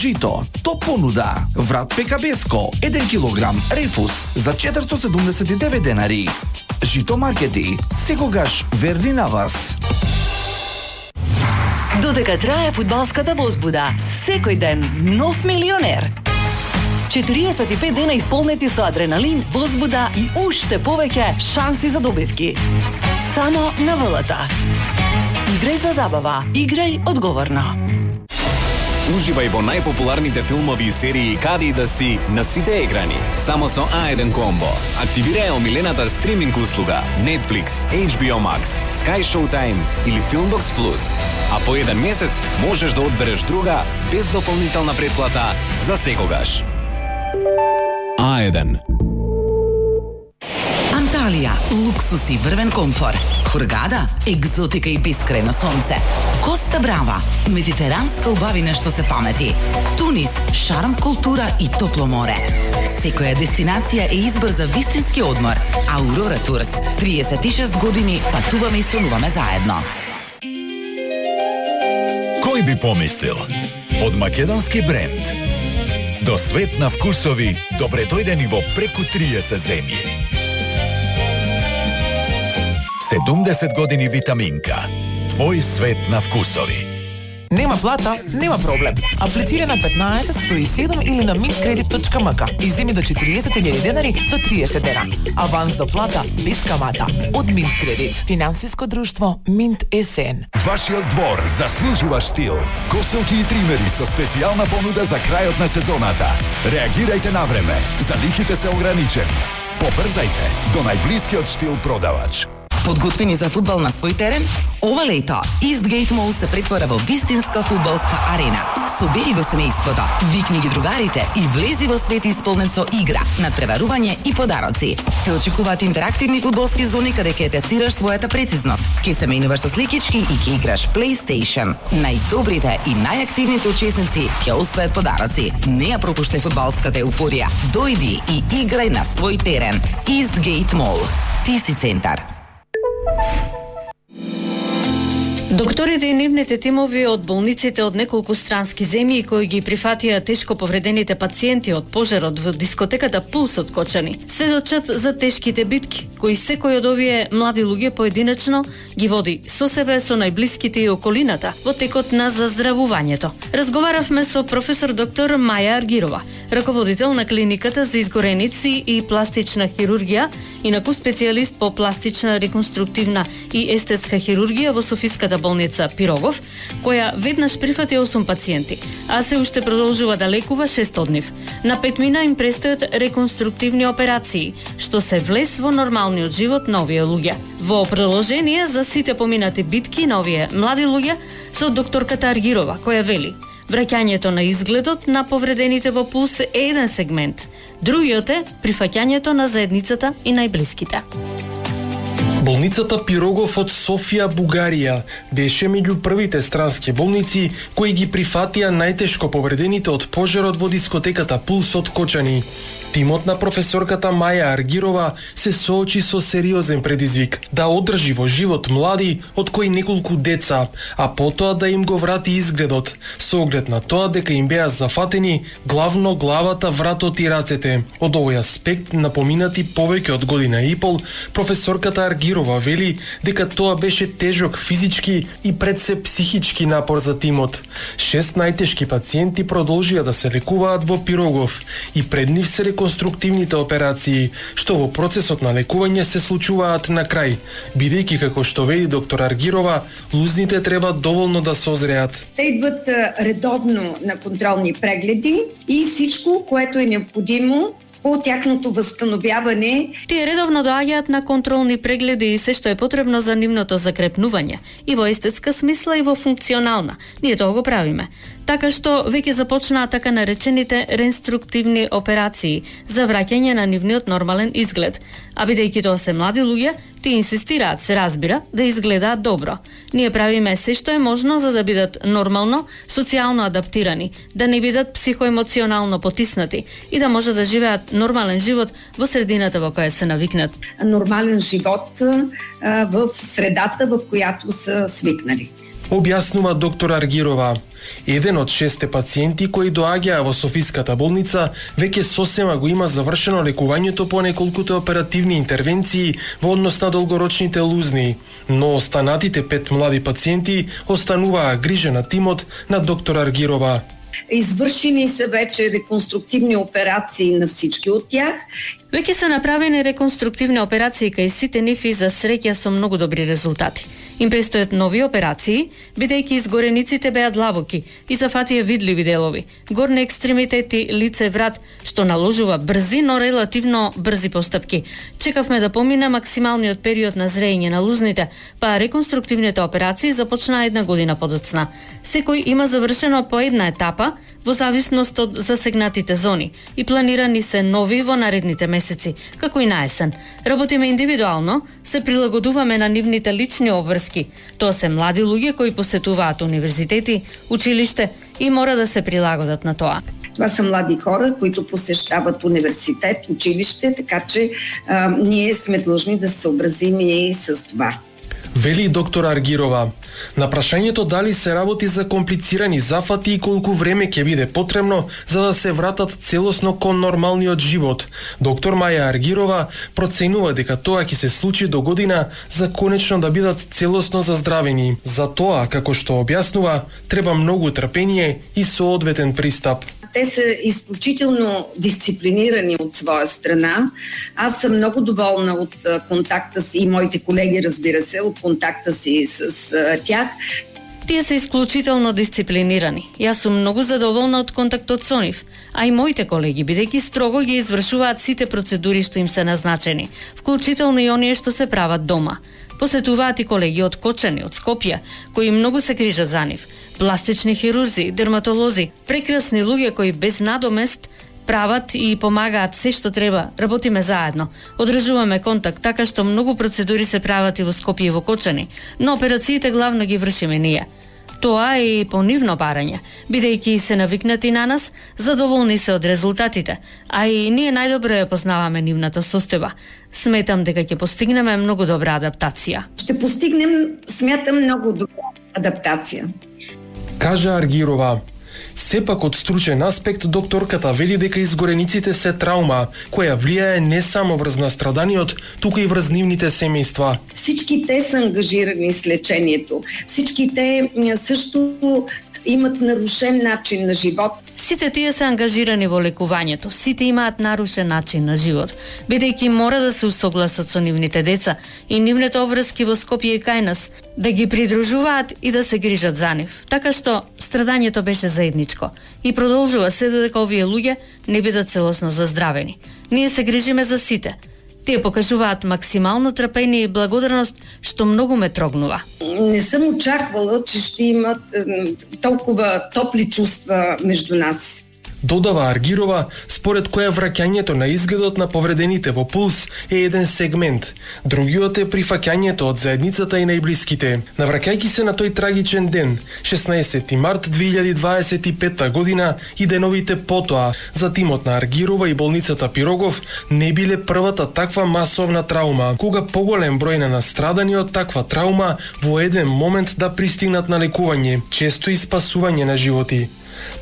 жито, топ понуда. Врат Пекабеско, 1 килограм рефус за 479 денари. Жито маркети, секогаш верни на вас. Додека трае фудбалската возбуда, секој ден нов милионер. 45 дена исполнети со адреналин, возбуда и уште повеќе шанси за добивки. Само на ВЛТ. Играј за забава, играј одговорно. Уживај во најпопуларните филмови и серии каде и да си на сите екрани. Само со A1 комбо. Активирај омилената стриминг услуга Netflix, HBO Max, Sky Showtime или Filmbox Plus. А по еден месец можеш да одбереш друга без дополнителна претплата за секогаш. A1. Анталија, луксус и врвен комфор. Хургада, екзотика и бескрајно сонце. Коста Брава, медитеранска убавина што се памети. Тунис, шарм, култура и топло море. Секоја дестинација е избор за вистински одмор. Аурора Турс, 36 години патуваме и сонуваме заедно. Кој би помислил? Од македонски бренд до свет на вкусови, добре дојдени во преку 30 земји. 70 години витаминка. Твој свет на вкусови. Нема плата, нема проблем. Аплицира на 15-107 или на mintkredit.mk и земи до 40.000 денари до 30 дена. Аванс до плата без камата. Од Mintkredit. Финансиско друштво Mint СН. Вашиот двор заслужува штил. Коселки и тримери со специјална понуда за крајот на сезоната. Реагирајте на време. Залихите се ограничени. Побрзајте до најблискиот штил продавач. Подготвени за фудбал на свој терен? Ова лето Eastgate Mall се претвора во вистинска фудбалска арена. Собери го семејството, викни ги другарите и влези во свет исполнет со игра, надпреварување и подароци. Те очекуваат интерактивни фудбалски зони каде ќе тестираш својата прецизност, ќе се менуваш со сликички и ќе играш PlayStation. Најдобрите и најактивните учесници ќе освојат подароци. Не ја пропуштај фудбалската еуфорија. Дојди и играј на свој терен. Eastgate Mall. Тиси центар. Докторите и нивните тимови од болниците од неколку странски земји кои ги прифатија тешко повредените пациенти од пожарот во дискотеката Пулс од Кочани сведочат за тешките битки кои секој од овие млади луѓе поединечно ги води со себе, со најблиските и околината во текот на заздравувањето. Разговаравме со професор доктор Маја Аргирова, раководител на клиниката за изгореници и пластична хирургија, инаку специјалист по пластична, реконструктивна и естетска хирургија во Софиската болница Пирогов, која веднаш прифати 8 пациенти, а се уште продолжува да лекува 6 од нив. На 5 мина им престојат реконструктивни операции, што се влез во нормалниот живот на овие луѓе. Во продолжение за сите поминати битки на овие млади луѓе со докторката Аргирова, која вели: враќањето на изгледот на повредените во Пулс е еден сегмент. Другиот е прифаќањето на заедницата и најблиските. Болницата Пирогов од Софија, Бугарија, беше меѓу првите странски болници кои ги прифатија најтешко повредените од пожарот во дискотеката Пулс од Кочани. Тимот на професорката Маја Аргирова се соочи со сериозен предизвик да одржи во живот млади, од кои неколку деца, а потоа да им го врати изгледот, со оглед на тоа дека им беа зафатени главно главата, вратот и рацете. Од овој аспект, на поминати повеќе од година и пол, професорката Аргирова вели дека тоа беше тежок физички и пред се психички напор за тимот. 6 најтешки пациенти продолжија да се лекуваат во Пирогов и пред нив се реконструктивните операции, што во процесот на лекување се случуваат на крај, бидејќи како што вели доктор Аргирова, лузните треба доволно да созреат. Те идват редовно на контролни прегледи и всичко, което е необходимо по тяхното възстановяване. Тие редовно доаѓаат на контролни прегледи и се што е потребно за нивното закрепнување, и во естетска смисла и во функционална. Ние тоа го правиме. Така што веќе започнаа така наречените реконструктивни операции за враќање на нивниот нормален изглед. А бидејќи тоа се млади луѓе, тие инсистираат, се разбира, да изгледаат добро. Ние правиме се што е можно за да бидат нормално, социјално адаптирани, да не бидат психоемоционално потиснати и да може да живеат нормален живот во средината во која се навикнат. Нормален живот в средата во којато се свикнали. Објаснува доктор Аргирова. Еден од 6 пациенти кои доаѓаа во Софиската болница веќе сосема го има завршено лекувањето по неколкуте оперативни интервенции во однос на долгорочните лузни, но останатите 5 млади пациенти остануваа грижа на тимот на доктор Аргирова. Извршени се вече реконструктивни операции на всички од тях. Веќе се направени реконструктивни операции кај сите нив и за среќа со многу добри резултати. Им престојат нови операции, бидејќи изгорениците беа длабоки и зафатија видливи делови, горни екстремитети, лице, врат, што наложува брзи, но релативно брзи постапки. Чекавме да помине максималниот период на зрејење на лузните, па реконструктивните операции започнаа 1 година подоцна. Секој има завршено по една етапа, во зависност од засегнатите зони, и планирани се нови во наредните месеци, како и на есен. Работиме индивидуално, се прилагодуваме на нивните лични обврски. Тоа се млади луѓе кои посетуваат универзитети, училиште и мора да се прилагодат на тоа. Това са млади хора, които посещават университет, училище, така че ние сме длъжни да се съобразим и с това. Вели доктор Аргирова. На прашањето дали се работи за комплицирани зафати и колку време ќе биде потребно за да се вратат целосно кон нормалниот живот, доктор Маја Аргирова проценува дека тоа ќе се случи до година за конечно да бидат целосно заздравени. За тоа, како што објаснува, треба многу трпение и соодветен пристап. Те са изключително дисциплинирани от своя страна. Аз съм много доволна от контакта си и моите колеги, разбира се, от контакта си с тях. Тие се исклучително дисциплинирани. Јас сум многу задоволна од контактот со нив, а и моите колеги, бидејќи строго ги извршуваат сите процедури што им се назначени, вклучително и оние што се прават дома. Посетуваат и колеги од Кочани, од Скопје, кои многу се грижат за нив. Пластични хирурзи, дерматолози, прекрасни луѓе кои без надомест прават и помагаат се што треба. Работиме заедно. Одржуваме контакт така што многу процедури се прават и во Скопје и во Кочани, но операциите главно ги вршиме ние. Тоа е и по нивно барање, бидејќи се навикнати на нас, задоволни се од резултатите, а и ние најдобро ја познаваме нивната состојба. Сметам дека ќе постигнеме многу добра адаптација. Ще постигнем, смятам, многу добра адаптација. Кажа Аргирова. Сепак од стручен аспект докторката вели дека изгорениците се траума, која влијае не само врз настраданиот, туку и врз нивните семејства. Всички те са ангажирани с лечението. Всички те също имат нарушен начин на живот. Сите тие се ангажирани во лекувањето, сите имаат нарушен начин на живот, бидејќи мора да се усогласат со нивните деца и нивните обврски во Скопје и кај нас, да ги придружуваат и да се грижат за нив. Така што страдањето беше заедничко и продолжува се додека овие луѓе не бидат целосно заздравени. Ние се грижиме за сите. Тие покажуваат максимално трпение и благодарност, што многу ме трогнува. Не съм очаквала, че ще имат толкова топли чувства между нас. Додава Аргирова, според која враќањето на изгледот на повредените во пулс е еден сегмент. Другиот е прифаќањето од заедницата и најблиските. Навраќајќи се на тој трагичен ден, 16 март 2025 година и деновите потоа, за тимот на Аргирова и болницата Пирогов не биле првата таква масовна траума, кога поголем број на настрадани од таква траума во еден момент да пристигнат на лекување, често и спасување на животи.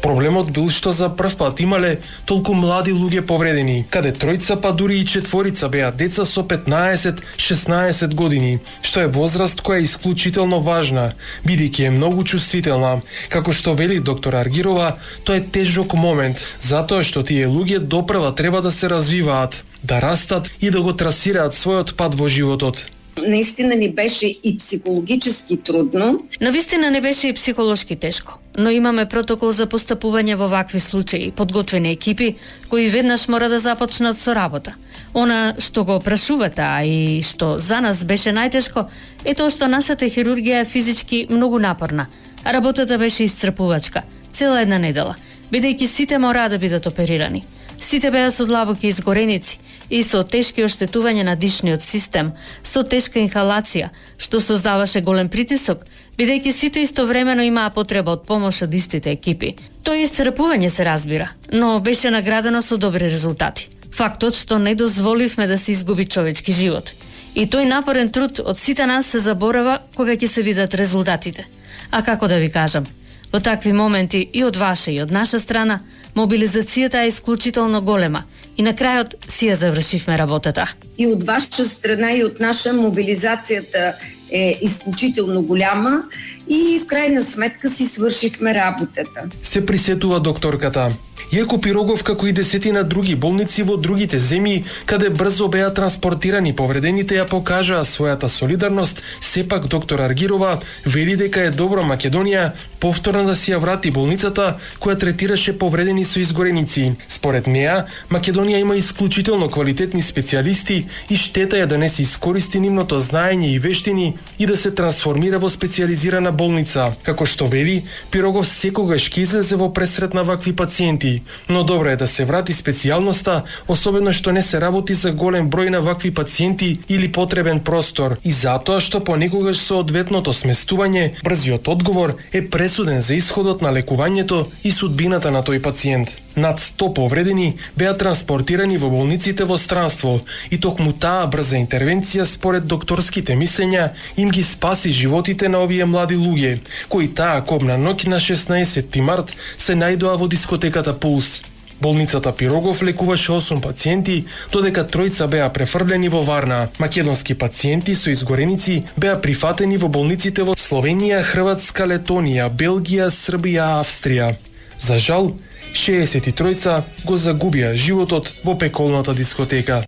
Проблемот бил што за прв пат имале толку млади луѓе повредени, каде тројца па дури и четворица беа деца со 15-16 години, што е возраст која е исклучително важна, бидејќи е многу чувствителна. Како што вели доктор Аргирова, тоа е тежок момент, затоа што тие луѓе допрва треба да се развиваат, да растат и да го трасираат својот пат во животот. Наистина ни беше и психологически трудно. Навистина не беше и психолошки тешко, но имаме протокол за постапување во вакви случаи, подготвени екипи кои веднаш мора да започнат со работа. Она што го прашувате, а и што за нас беше најтешко, е тоа што нашата хирургија е физички многу напорна, а работата беше исцрпувачка, цела една недела, бидејќи сите мораа да бидат оперирани. Сите беа со длабоки изгореници и со тешки оштетување на дишниот систем, со тешка инхалација, што создаваше голем притисок, бидејќи сите истовремено имаа потреба од помош од истите екипи. Тоа исцрпување се разбира, но беше наградено со добри резултати. Фактот што не дозволивме да се изгуби човечки живот. И тој напорен труд од сите нас се заборава кога ќе се видат резултатите. А како да ви кажам, во такви моменти и од ваша и од наша страна, мобилизацијата е исклучително голема и на крајот си ја завршивме работата. И од ваша страна и од наша мобилизацијата е исклучително голяма и в крајна сметка си свршихме работата. Се присетува докторката. Иако Пирогов, како и десетина други болници во другите земји, каде брзо беа транспортирани повредените, ја покажаа својата солидарност, сепак доктор Аргирова вели дека е добро Македонија повторно да си ја врати болницата која третираше повредени со изгореници. Според неа, Македонија има исклучително квалитетни специјалисти и штета е да не се искористи нивното знаење и вештини и да се трансформира во специјализирана болница. Како што вели, Пирогов секогаш ќе излезе во пресрет на вакви пациенти, но добро е да се врати специјалноста, особено што не се работи за голем број на вакви пациенти или потребен простор, и затоа што понекогаш со одветното сместување, брзиот одговор е пресуден за исходот на лекувањето и судбината на тој пациент. Над 100 повредени беа транспортирани во болниците во странство и токму таа брза интервенција според докторските мислења им ги спаси животите на овие млади луѓе, кои таа кобна ноќ на 16 март се најдоа во дискотеката Пулс. Болницата Пирогов лекуваше 8 пациенти, додека тројца беа префрлени во Варна. Македонски пациенти со изгореници беа прифатени во болниците во Словенија, Хрватска, Летонија, Белгија, Србија, Австрија. За жал, 63 го загубија животот во пеколната дискотека.